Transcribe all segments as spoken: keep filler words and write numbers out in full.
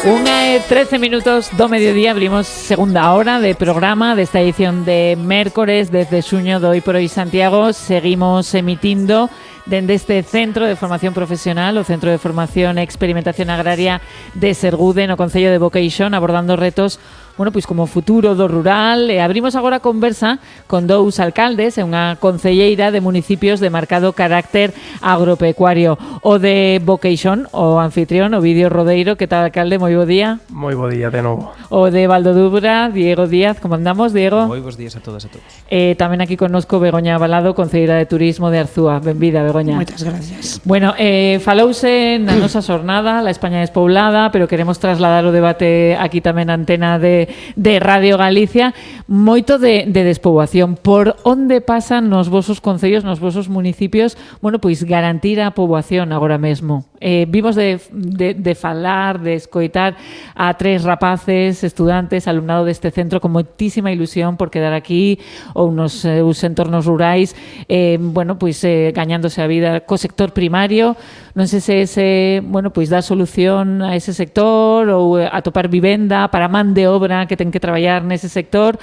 Unha e trece minutos do mediodía, abrimos segunda hora de programa desta edición de mércores desde xuño do Hoy por Hoy Santiago. Seguimos emitindo dende este Centro de Formación Profesional, o Centro de Formación e Experimentación Agraria de Sergude, no Concello de Boqueixón, abordando retos, bueno, pois como futuro do rural. E abrimos agora a conversa con dous alcaldes e unha concelleira de municipios de marcado carácter agropecuario. O de Boqueixón, o anfitrión, o Vídeo Rodeiro. Que tal, alcalde? Moi bo día. Moi bo día de novo. O de Valdodubra, Diego Díaz. Como andamos, Diego? Moi bons días a todas e a todos. Eh, tamén aquí connosco Begoña Balado, concelleira de Turismo de Arzúa. Benvida, Begoña. Moitas gracias. Bueno, eh, falouse na nosa xornada La España despoblada, pero queremos trasladar o debate aquí tamén na antena de, de Radio Galicia. Moito de, de despoboación. Por onde pasan nos vosos concellos, nos vosos municipios, bueno, pois garantir a poboación agora mesmo? Eh, vimos de, de, de falar, de escoitar a tres rapaces, estudantes, alumnado deste centro con moitísima ilusión por quedar aquí ou nos eh, os entornos rurais, eh, bueno, pois eh, gañándose a vida co sector primario. Non sei se ese, bueno, pois dá solución a ese sector ou atopar vivenda para man de obra que ten que traballar nese sector,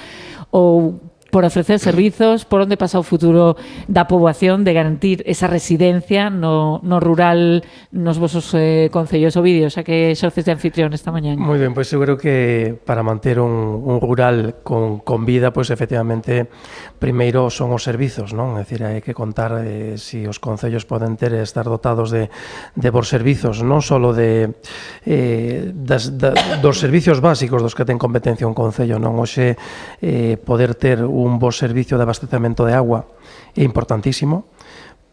ou por ofrecer servizos. Por onde pasa o futuro da poboación, de garantir esa residencia no, no rural nos vosos eh, concellos? O Vídeo, xa que xorces de anfitrión esta mañá. Moi ben, pois eu creo que para manter un, un rural con, con vida, pois efectivamente primeiro son os servizos, non? É dicir, hai que contar eh, si os concellos poden ter estar dotados de, de bons servizos, non só de eh, das, da, dos servicios básicos dos que ten competencia un concello, non? Hoxe eh, poder ter un bo servicio de abastecemento de agua é importantísimo,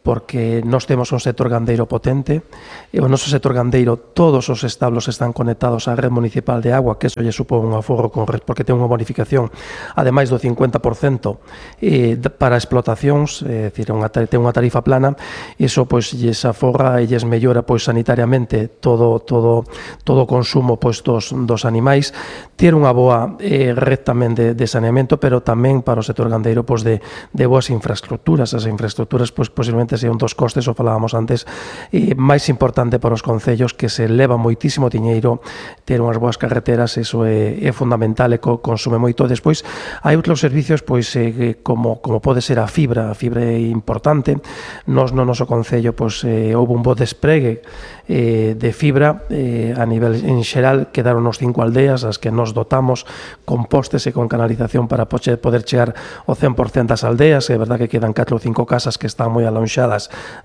porque nós temos un sector gandeiro potente, e o noso sector gandeiro, todos os establos están conectados á red municipal de agua, que eso lle supón un aforro con red, porque ten unha bonificación, ademais do cincuenta por cento eh, para explotacións, é dicir, unha, ten unha tarifa plana, e iso pois lles aforra e lles mellora pois sanitariamente todo todo todo o consumo pois dos, dos animais, ter unha boa eh, red tamén de, de saneamento, pero tamén para o sector gandeiro pois de, de boas infraestructuras. As infraestructuras pois posiblemente é un dos costes, o falábamos antes, e máis importante para os concellos, que se leva moitísimo diñeiro ter unhas boas carreteras. Eso é, é fundamental e co, consume moito. Despois hai outros servicios pois eh, como, como pode ser a fibra. A fibra é importante. Nos no noso concello pois eh, houve un bo despregue eh, de fibra eh, a nivel en xeral. Quedaron os cinco aldeas as que nos dotamos con postes e con canalización para poder chegar ao cen por cento das aldeas. É verdad que quedan catro ou cinco casas que están moi alonxadas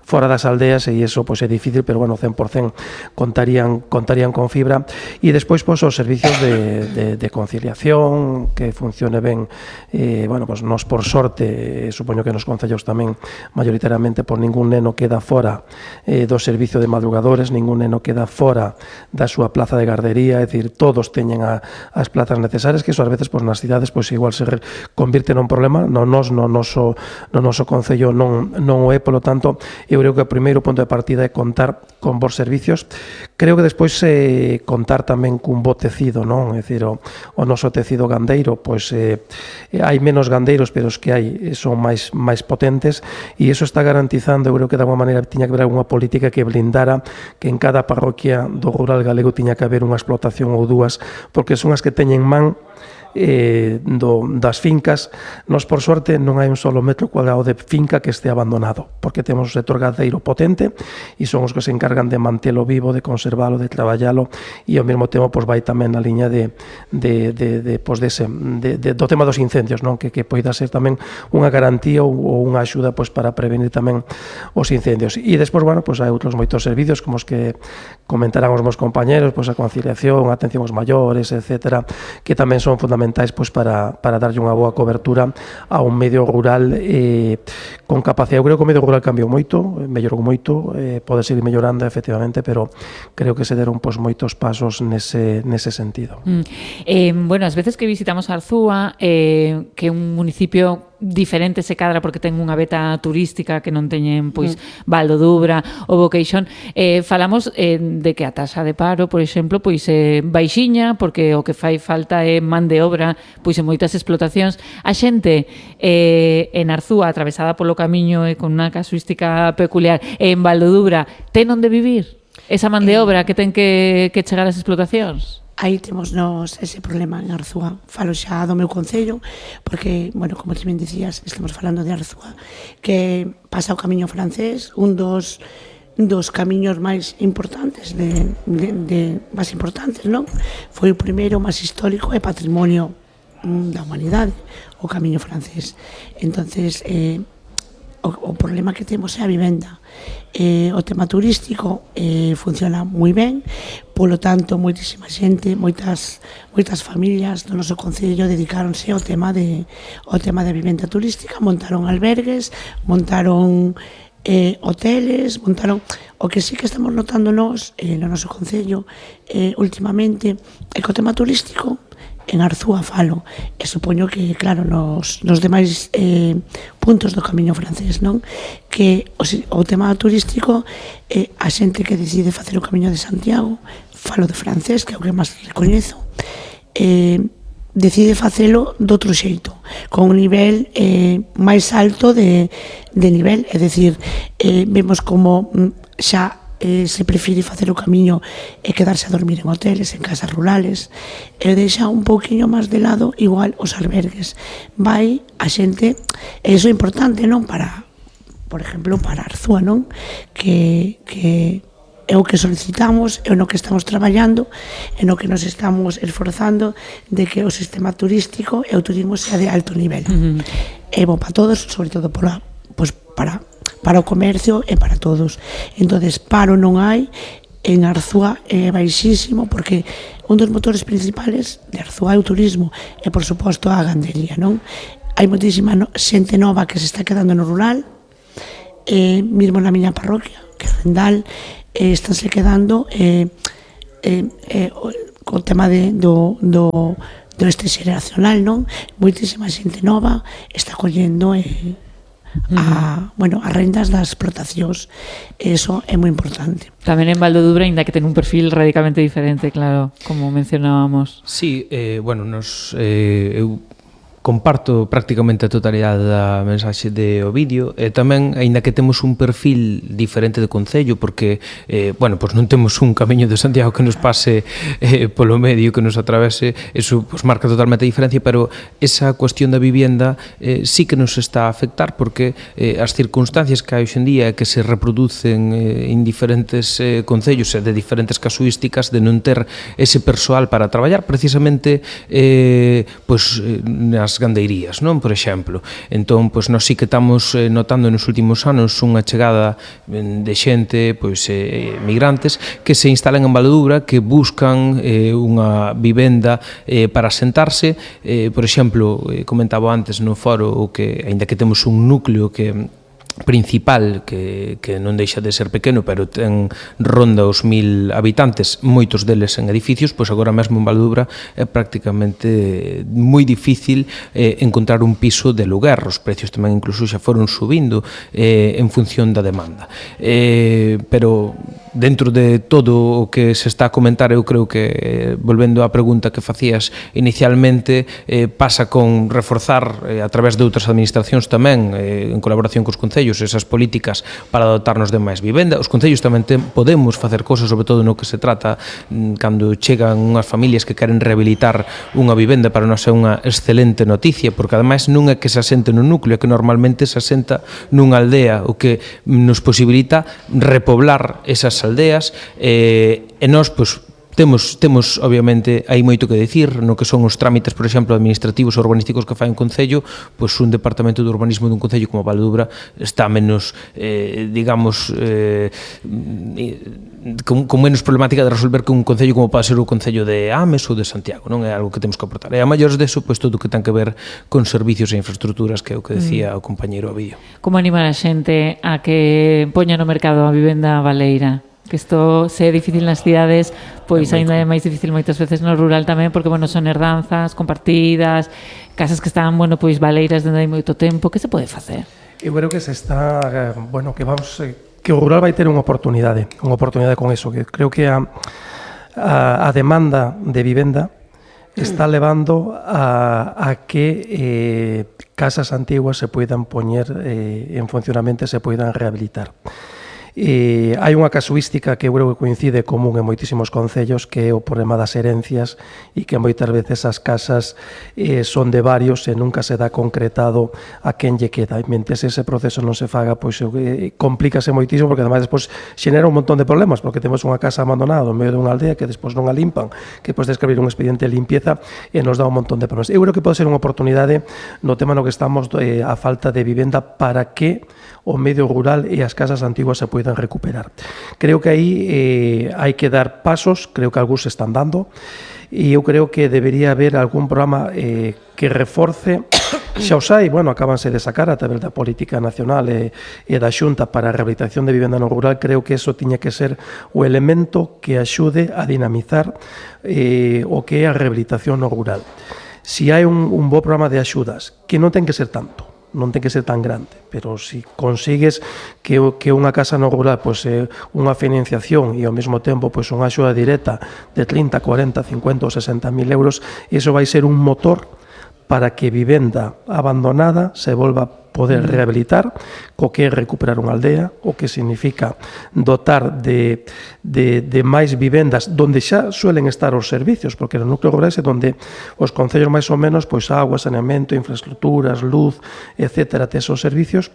fora das aldeas, e iso pois é difícil, pero bueno, cen por cento contarían contarían con fibra. E despois pois os servicios de, de, de conciliación, que funcione ben. Eh, bueno, pois nos por sorte, eh, supoño que nos concellos tamén maioritariamente, por ningún neno queda fora eh, do servicio de madrugadores, ningún neno queda fora da súa plaza de gardería, é dicir, todos teñen a, as plazas necesarias, que iso ás veces pois nas cidades pois igual se convirte nun problema. No nos no noso no noso concello non non o é. Polo tanto, eu creo que o primeiro punto de partida é contar con bons servicios. Creo que despois eh, contar tamén cun bo tecido, non? É dicir, o, o noso tecido gandeiro, pois eh, hai menos gandeiros, pero os que hai son máis máis potentes, e iso está garantizando, eu creo que de alguma maneira tiña que haber alguna política que blindara que en cada parroquia do rural galego tiña que haber unha explotación ou dúas, porque son as que teñen man Eh, do, das fincas. Nos por sorte non hai un solo metro cuadrado de finca que este abandonado, porque temos un sector gandeiro potente e son os que se encargan de mantelo vivo, de conservalo, de traballalo, e ao mesmo tempo pois vai tamén na liña de, de, de, de, pois dese, de, de, do tema dos incendios, non? Que, que poida ser tamén unha garantía ou, ou unha axuda pois para prevenir tamén os incendios. E despois, bueno, pois hai outros moitos servicios como os que comentarán os meus compañeros, pois a conciliación, a atención aos maiores, etcétera, que tamén son fundamentais pois para, para darlle unha boa cobertura a un medio rural eh, con capacidade. Eu creo que o medio rural cambiou moito, mellorou moito, eh, pode seguir mellorando efectivamente, pero creo que se deron pois moitos pasos nese, nese sentido. Mm. Eh, bueno, as veces que visitamos Arzúa, eh, que é un municipio diferente se cadra porque ten unha beta turística que non teñen pois mm. Valdodubra ou Boqueixón, eh, falamos eh, de que a taxa de paro, por exemplo, pois é eh, baixiña, porque o que fai falta é man de obra pois en moitas explotacións. A xente eh, en Arzúa, atravesada polo camiño e con unha casuística peculiar, e en Valdodubra, ten onde vivir esa man de obra que ten que, que chegar ás explotacións? aí temos nos ese problema en Arzúa. Falo xa do meu concello, porque, bueno, como ti ben dicías, estamos falando de Arzúa, que pasa o camiño francés, un dos dos camiños máis importantes de, de, de máis importantes, non? Foi o primeiro máis histórico e patrimonio da humanidade, o camiño francés. Entonces, eh, o, o problema que temos é a vivenda. Eh, o tema turístico eh, funciona moi ben, polo tanto, moitísima xente, moitas moitas familias do noso concello dedicáronse ao tema de ao tema de vivenda turística, montaron albergues, montaron eh, hoteles, montaron. O que sí que estamos notando nós eh, no noso concello eh, últimamente é que o tema turístico en Arzúa falo, e supoño que, claro, nos, nos demais eh, puntos do camiño francés, non? Que o, o tema turístico, eh, a xente que decide facer o camiño de Santiago, falo de francés, que é o que máis recoñezo, eh, decide facelo de outro xeito, con un nivel eh, máis alto de, de nivel, é dicir, eh, vemos como xa eh, se prefire facer o camiño e quedarse a dormir en hoteles, en casas rurales, e deixa un pouquiño máis de lado igual os albergues. Vai a xente, e iso é importante, non? Para, por exemplo, para Arzúa, non? Que, que é o que solicitamos, é o no que estamos traballando, é no que nos estamos esforzando de que o sistema turístico e o turismo sea de alto nivel. Uh-huh. É bo para todos, sobre todo para, pues, para para o comercio e para todos. Entonces, paro non hai, en Arzúa é baixísimo, porque un dos motores principales de Arzúa é o turismo e, por suposto, a gandería, non? Hai moitísima no, xente nova que se está quedando no rural, eh, mesmo na miña parroquia, que é Rendal, eh, estánse quedando eh, eh, eh, co tema de, do, do, do este xeracional, non? Moitísima xente nova está collendo eh, a, bueno, as rendas das explotacións. Eso é moi importante. Tamén en Valdodubra, ainda que ten un perfil radicalmente diferente, claro, como mencionábamos. Sí, eh, bueno, nos eh, eu comparto prácticamente a totalidade da mensaxe de Ovidio e tamén, aínda que temos un perfil diferente de concello, porque eh, bueno, pues non temos un camiño de Santiago que nos pase eh, polo medio, que nos atravese, eso pues, marca totalmente a diferencia, pero esa cuestión da vivienda eh, sí que nos está a afectar, porque eh, as circunstancias que hai hoxendía que se reproducen eh, en diferentes eh, concellos e de diferentes casuísticas de non ter ese persoal para traballar, precisamente eh, pues, nas gandeirías, non? Por exemplo. Entón, pois, nós sí que estamos eh, notando nos últimos anos unha chegada de xente, pois, eh, migrantes, que se instalan en Valdodubra, que buscan eh, unha vivenda eh, para sentarse. Eh, por exemplo, eh, comentaba antes no foro o que, aínda que temos un núcleo que principal que, que non deixa de ser pequeno, pero ten ronda os mil habitantes, moitos deles en edificios, pois agora mesmo en Valdodubra é prácticamente moi difícil eh, encontrar un piso de lugar. Os precios tamén incluso xa foron subindo eh, en función da demanda. Eh, pero dentro de todo o que se está a comentar, eu creo que, volvendo á pregunta que facías inicialmente, eh, pasa con reforzar eh, a través de outras administracións tamén, eh, en colaboración cos concellos, esas políticas para dotarnos de máis vivenda. Os concellos tamén ten, podemos facer cosas, sobre todo no que se trata cando chegan unhas familias que queren rehabilitar unha vivenda. Para nós é unha excelente noticia, porque ademais non é que se asente no núcleo, é que normalmente se asenta nunha aldea, o que nos posibilita repoblar esas aldeas, eh, e nós, pois, Temos, temos, obviamente, hai moito que dicir no que son os trámites, por exemplo, administrativos ou urbanísticos que fai un concello, pois un departamento de urbanismo dun concello como Valdodubra está menos, eh, digamos, eh, con, con menos problemática de resolver que un concello como pode ser o concello de Ames ou de Santiago, non é algo que temos que aportar. E a maiores deso, pois todo o que ten que ver con servicios e infraestructuras, que é o que decía mm. o compañeiro Ovidio. Como animar a xente a que poña no mercado a vivenda baleira? Que isto se é difícil nas cidades, pois ainda é máis difícil moitas veces no rural tamén, porque, bueno, son herdanzas compartidas, casas que están, bueno, pois baleiras dende hai moito tempo. Que se pode facer? Eu creo que se está, bueno, que vamos, que o rural vai ter unha oportunidade, unha oportunidade con eso, que creo que a, a, a demanda de vivenda está levando a, a que eh, casas antiguas se poidan poñer eh, en funcionamento e se poidan rehabilitar. E hai unha casuística que eu creo que coincide común en moitísimos concellos, que é o problema das herencias e que moitas veces as casas eh, son de varios e nunca se dá concretado a quen lle queda. E mentres ese proceso non se faga, pois eh, complícase moitísimo, porque ademais despois xenera un montón de problemas, porque temos unha casa abandonada no medio dunha aldea que despois non a limpan, que podes escribir un expediente de limpieza e nos dá un montón de problemas. Eu creo que pode ser unha oportunidade no tema no que estamos, eh, a falta de vivenda, para que o medio rural e as casas antiguas se poidan recuperar. Creo que aí eh, hai que dar pasos, creo que algúns se están dando, e eu creo que debería haber algún programa eh, que reforce, xa os hai, bueno, acabanse de sacar a través da política nacional e, e da Xunta para a rehabilitación de vivenda no rural. Creo que eso tiña que ser o elemento que axude a dinamizar eh, o que é a rehabilitación no rural. Si hai un, un bo programa de axudas, que non ten que ser tanto, non ten que ser tan grande, pero se si consigues que, que unha casa no rural pois, eh, unha financiación e ao mesmo tempo pois, unha axuda directa de trinta, cuarenta, cincuenta ou sesenta mil euros, iso vai ser un motor para que vivenda abandonada se volva a poder rehabilitar, co que é recuperar unha aldea, o que significa dotar de, de, de máis vivendas donde xa suelen estar os servicios, porque no núcleo rural é donde os concellos máis ou menos, pois agua, saneamento, infraestructuras, luz, etcétera, tes os servicios.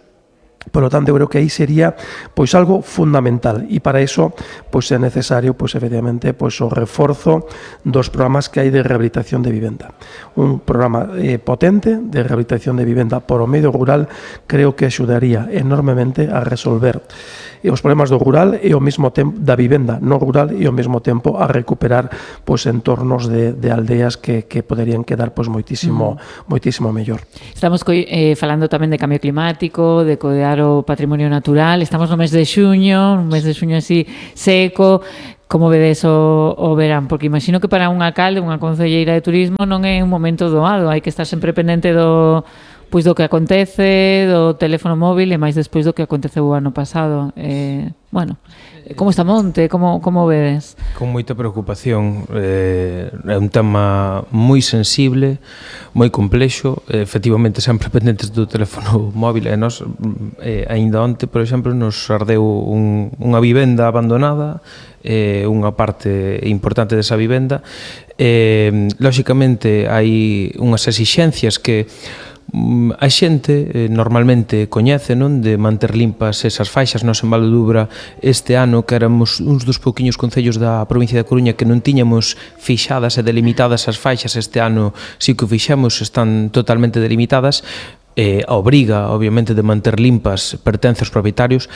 Por lo tanto, eu creo que aí sería pois algo fundamental, e para iso pois é necesario pois efectivamente pois o reforzo dos programas que hai de rehabilitación de vivenda. Un programa eh, potente de rehabilitación de vivenda por o medio rural creo que axudaría enormemente a resolver os problemas do rural e ao mesmo tempo da vivenda no rural e ao mesmo tempo a recuperar pois entornos de, de aldeas que, que poderían quedar pois moitísimo mm. moitísimo mellor. Estamos eh, falando tamén de cambio climático, de coidar o patrimonio natural. Estamos no mes de xuño, un mes de xuño así seco. Como vedes o, o verán? Porque imagino que para un alcalde, unha concelleira de turismo non é un momento doado, hai que estar sempre pendente do pois do que acontece, do teléfono móvil, e máis despois do que aconteceu o ano pasado. Eh, bueno, como está Monte? Como, como vedes? Con moita preocupación. Eh, é un tema moi sensible, moi complexo, eh, efectivamente sempre pendentes do teléfono móvil. E nos, eh, ainda onte, por exemplo, nos ardeu un, unha vivenda abandonada, eh, unha parte importante desa vivenda. Eh, lóxicamente, hai unhas exixencias que a xente eh, normalmente coñece, non, de manter limpas esas faixas. Nos en Valdudubra este ano, que éramos uns dos pouquiños concellos da provincia da Coruña que non tiñamos fixadas e delimitadas as faixas, este ano si que o fixemos, están totalmente delimitadas. Eh, a obriga, obviamente, de manter limpas pertence aos propietarios,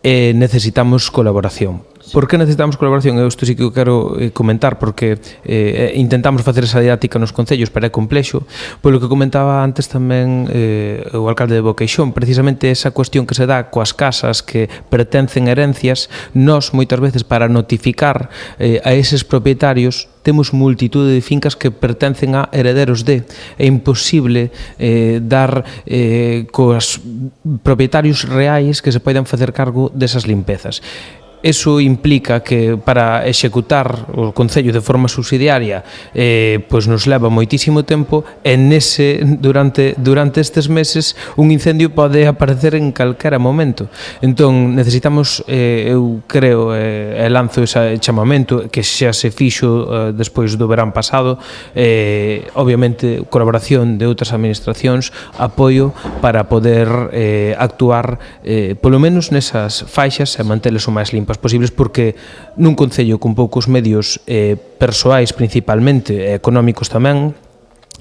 e necesitamos colaboración. Por que necesitamos colaboración? Eu isto sí que eu quero eh, comentar, porque eh, intentamos facer esa didáctica nos concellos, pero é complexo. Polo que comentaba antes tamén eh, o alcalde de Boqueixón, precisamente esa cuestión que se dá coas casas que pertencen a herencias. Nós, moitas veces, para notificar eh, a eses propietarios, temos multitude de fincas que pertencen a herederos de. É imposible eh, dar eh, cos propietarios reais que se poidan facer cargo desas limpezas. Eso implica que para executar o Concello de forma subsidiaria eh, pois nos leva moitísimo tempo, e nese, durante, durante estes meses un incendio pode aparecer en calquera momento. Entón necesitamos, eh, eu creo, eh, e lanzo ese chamamento que xa se fixo eh, despois do verán pasado, eh, obviamente colaboración de outras administracións, apoio para poder eh, actuar eh, polo menos nesas faixas e manteles o máis limpas posibles, porque nun concello con poucos medios eh, persoais principalmente e económicos tamén,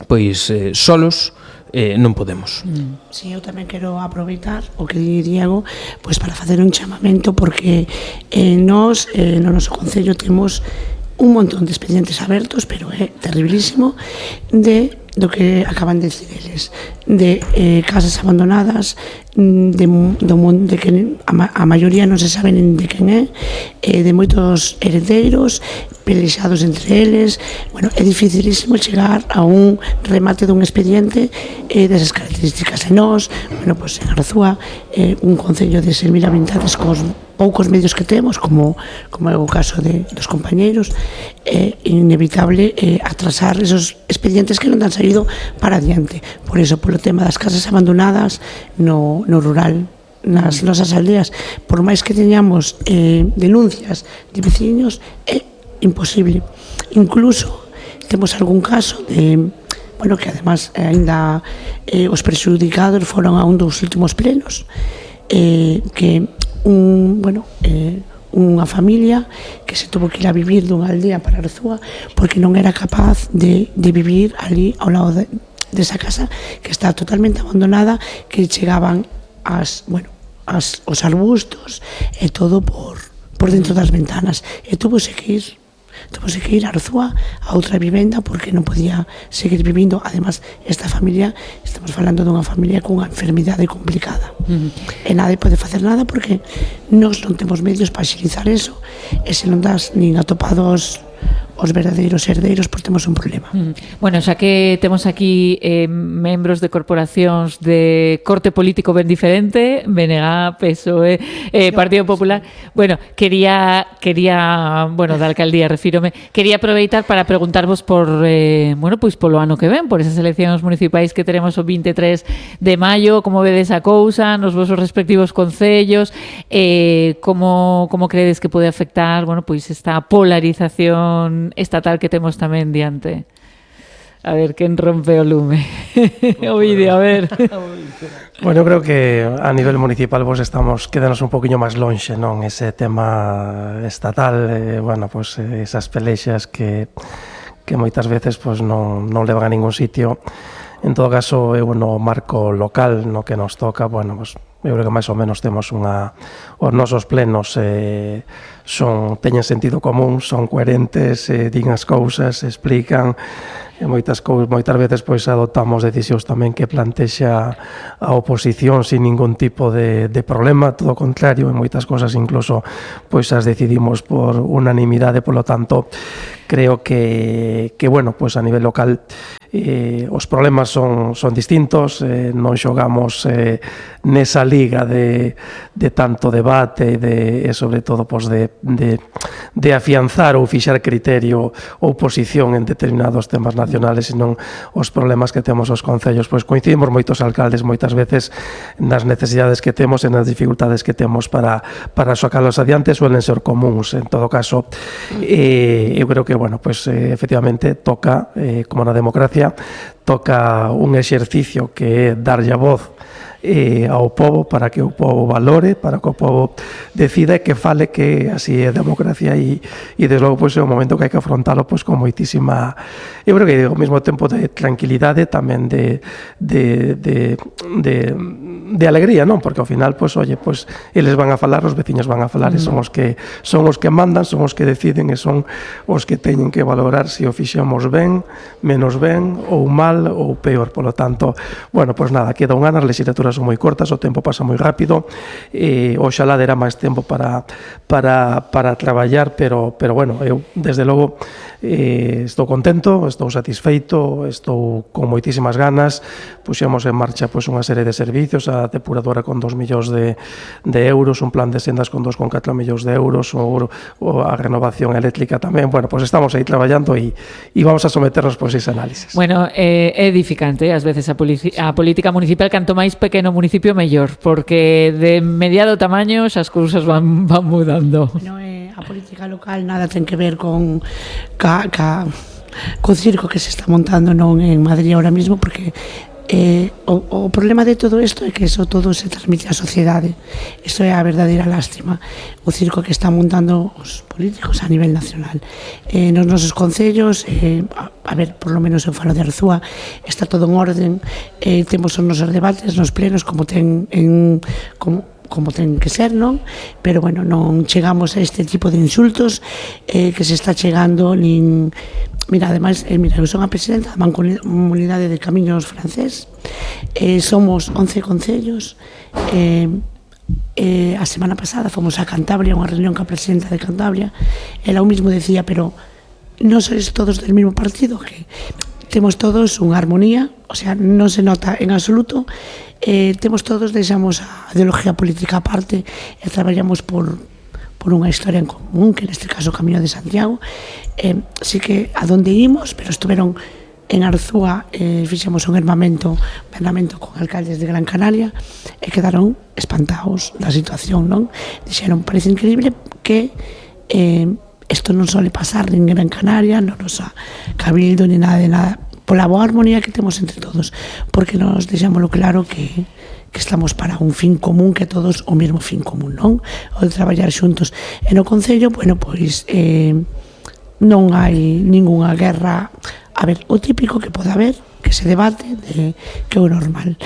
pois eh, solos eh, non podemos. Mm. Sí, eu tamén quero aproveitar o que di Diego pois para facer un chamamento, porque eh, nós eh, no noso concello temos un montón de expedientes abertos, pero é terribilísimo, de do que acaban de decir eles, de eh, casas abandonadas, de, do, de que a, a maioría non se sabe nin de quen é, eh, de moitos heredeiros pelexados entre eles. Bueno, é dificilísimo chegar a un remate dun expediente eh, desas características. E nós, bueno, pues en Arzúa, eh, un concello de seis mil habitantes cos poucos medios que temos, como, como é o caso de, dos compañeiros, é inevitable eh, atrasar esos expedientes que non han saído para adiante. Por eso, polo tema das casas abandonadas no, no rural, nas nosas aldeas, por máis que teñamos eh, denuncias de veciños, é imposible. Incluso temos algún caso de, bueno, que además ainda eh, os prexudicados foron a un dos últimos plenos, eh, que un, bueno, eh, unha familia que se tuvo que ir a vivir dunha aldea para Arzúa porque non era capaz de, de vivir ali ao lado de, desa casa que está totalmente abandonada, que chegaban as, bueno, as, os arbustos e todo por, por dentro das ventanas, e tuvose que ir tuvose que ir a Arzúa a outra vivenda porque non podía seguir vivindo. Además, esta familia, estamos falando dunha familia cunha enfermidade complicada, uh-huh. e nadie pode facer nada porque nós non temos medios para xilizar eso, e se non das nin atopados os verdadeiros herdeiros, pois temos un problema. Mm. Bueno, xa que temos aquí eh, membros de corporacións de corte político ben diferente, B N G, P S O E, eh, Partido Popular, bueno, quería, quería, bueno, da alcaldía refírome, quería aproveitar para preguntarvos por, eh, bueno, pois polo ano que ven, por esas eleccións municipais que teremos o vinte e tres de maio, como vedes a cousa, nos vosos respectivos concellos, eh, como, como credes que pode afectar, bueno, pois esta polarización estatal que temos tamén diante. A ver, quen rompe o lume? O vídeo, a ver. Bueno, eu creo que a nivel municipal vos estamos, quedanos un poquinho máis lonxe, non? Ese tema estatal, eh, bueno, pues esas pelexas que, que moitas veces pues, non, non levan a ningún sitio. En todo caso, eu no marco local no que nos toca, bueno, pues, eu creo que máis ou menos temos unha... Os nosos plenos eh, son, teñen sentido común, son coherentes, eh, din as cousas, explican, e moitas, cousas, moitas veces pois, adoptamos decisións tamén que plantexa a oposición sin ningún tipo de, de problema, todo o contrario, en moitas cosas incluso pois as decidimos por unanimidade, polo tanto, creo que, que bueno, pois a nivel local eh, os problemas son, son distintos, eh, non xogamos eh, nesa liga de, de tanto debate de, e sobre todo pois, de, de, de afianzar ou fixar criterio ou posición en determinados temas nacionales, senón os problemas que temos os concellos. Pois coincidimos moitos alcaldes moitas veces nas necesidades que temos e nas dificultades que temos para, para sacarlos adiante, suelen ser comuns. En todo caso, eh, eu creo que, bueno, pues, eh, efectivamente toca, eh, como na democracia, toca un exercicio que é darlle a voz eh, ao povo para que o povo valore, para que o povo decida e que fale, que así é a democracia, e, e desde logo pois, é un momento que hai que afrontalo pois, con moitísima, eu creo que ao mesmo tempo de tranquilidade, tamén de, de, de, de, de alegría, non? Porque ao final, pois, oye, pois, eles van a falar, os veciños van a falar, mm. e son os que son os que mandan, son os que deciden, e son os que teñen que valorar se o fixemos ben, menos ben, ou mal, ou peor. Polo tanto, bueno, pois nada, queda un ano, as legislaturas son moi cortas, o tempo pasa moi rápido, e oxalá dera máis tempo para, para, para traballar, pero, pero bueno, eu desde logo eh, estou contento, estou satisfeito, estou con moitísimas ganas, puxemos en marcha pois, unha serie de servicios, a depuradora con dos millóns de, de euros, un plan de sendas con dos con catro millóns de euros, o, o a renovación eléctrica tamén, bueno, pois estamos aí traballando e, e vamos a someternos pois ese análisis. Bueno, é eh, edificante, ás veces a, a política municipal, canto máis pequeno municipio mellor, porque de mediado tamaño as cousas van, van mudando. No, eh, a política local nada ten que ver con ca, ca, co circo que se está montando non en Madrid ahora mismo, porque eh, o, o problema de todo isto é que eso todo se transmite á sociedade. Isto é a verdadeira lástima, o circo que están montando os políticos a nivel nacional. Eh, nos nosos concellos, eh, a, a ver, por lo menos eu falo de Arzúa, está todo en orden, eh, temos os nosos debates nos plenos como ten en... como como ten que ser, non? Pero, bueno, non chegamos a este tipo de insultos eh, que se está chegando nin... Mira, ademais, eh, mira, eu son a presidenta da Mancomunidade de Camiños francés, eh, somos once concellos, eh, eh, a semana pasada fomos a Cantabria, unha reunión ca presidenta de Cantabria, ela o mismo decía, pero non sois todos del mismo partido, que temos todos unha armonía, o sea, non se nota en absoluto, eh, temos todos, deixamos a ideología política aparte e traballamos por, por unha historia en común, que neste caso o Camiño de Santiago, eh, sí que a donde imos, pero estuveron en Arzúa eh, fixemos un hermamento, un hermamento con alcaldes de Gran Canaria e quedaron espantados da situación, non? Dixeron, parece increíble que eh, isto non sole pasar nin en Gran Canaria, non nos ha cabildo, ni nada de nada, pola boa armonía que temos entre todos, porque nos deixámoslo claro que que estamos para un fin común, que todos o mesmo fin común, non? O de traballar xuntos. E no Concello, bueno, pois eh, non hai ningunha guerra. A ver, o típico que pode haber, que se debate, de, que é o normal.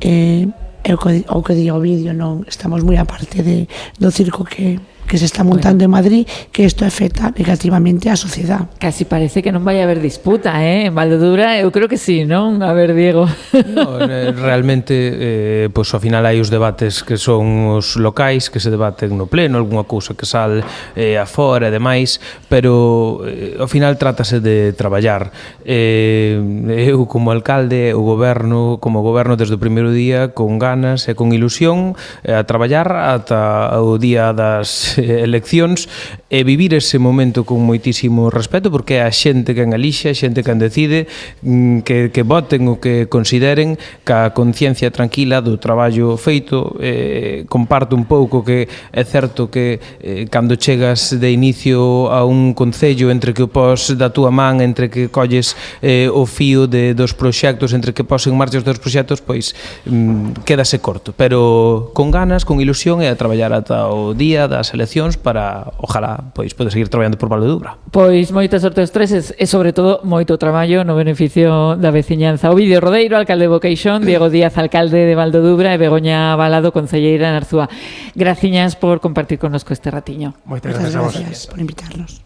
Eh, é o que, o que di o vídeo, non? Estamos moi aparte de, do circo que, que se está montando bueno. en Madrid, que isto afecta negativamente á sociedade. Casi parece que non vai haber disputa, eh? En Valdodura eu creo que sí, non? A ver, Diego. No, realmente, eh, pois, ao final hai os debates que son os locais, que se debaten no pleno, algunha cousa que sal eh, afora e demais, pero eh, ao final trátase de traballar. Eh, eu como alcalde, o goberno, como goberno desde o primeiro día, con ganas e con ilusión, eh, a traballar ata o día das eleccións e vivir ese momento con moitísimo respeto, porque é a xente quen elixe, a xente quen decide, que, que voten o que consideren, ca conciencia tranquila do traballo feito. Eh, comparto un pouco que é certo que eh, cando chegas de inicio a un concello, entre que o pos da túa man, entre que colles eh, o fío de, dos proxectos, entre que pos en marcha os teus proxectos, pois mm, quédase corto, pero con ganas, con ilusión, e a traballar ata o día das eleccións para, ojalá, pois poder seguir traballando por Valdodura. Pois moita sorte aos tres e, sobre todo, moito traballo no beneficio da veciñanza. Ovidio Rodeiro, alcalde de Boqueixón, Diego Díaz, alcalde de Valdodura, e Begoña Balado, concelleira en Arzúa. Graciñas por compartir connosco este ratiño. Moitas gracias, gracias por invitarnos.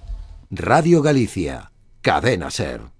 Radio Galicia, Cadena Ser.